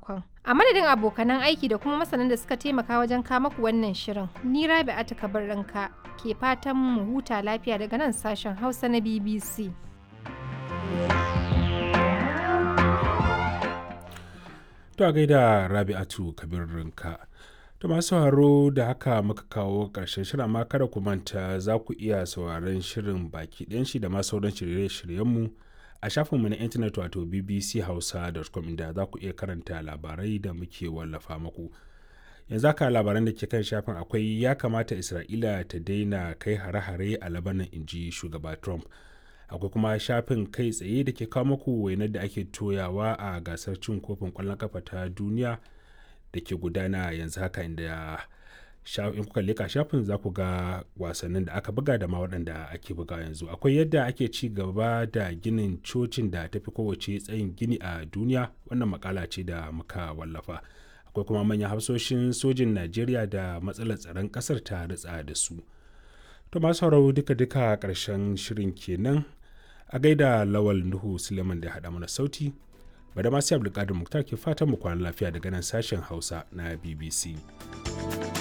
sakamakon. A madadin abokanan aiki da kuma masanan da suka taimaka wajen kama ku wannan shirin, ni Rabi'atu Kabirrinka ke fatan mu huta lafiya daga nan sashen Hausa na BBC. To a gaida Rabi'atu Kabirrinka. To masu sauraro, da haka muka kawo ƙarshen shirin, amma kada ku manta za ku iya sauraron shirin baki ɗayan shi da ma sauran shirye-shiryenmu a shafinmu na intanet, wato bbchausa.com, inda za ku iya karanta labarai da muke wallafa muku. Yanzu haka labaran da ke kan shafin akwai "Ya kamata Isra'ila ta daina kai hare-hare a Labanan," inji shugaba Trump. Akwai kuma shafin kai tsaye da ke kawo muku wainar da ake toyawa a gasar cin kofin kwallon kafa ta duniya da ke gudana yanzu haka, inda in kuka leka shafin za ku ga wasannin da aka buga da ma waɗanda ake buga yanzu. Akwai yadda ake ci gaba da ginin cocin da tafi kowace tsayin gini a duniya, wannan makala ce da muka wallafa. Akwai kuma manyan hafsoshin sojin Najeriya da matsalar tsaron ƙasar ta ritsa da su. To masu sauraro, duka-duka ƙarshen shirin kenan. A gaida Lawal Nuhu Suleiman da haɗa mana sauti. Bada masu Abdulkadir Muktar ke fatan mu kwana lafiya daga nan sashen Hausa na BBC.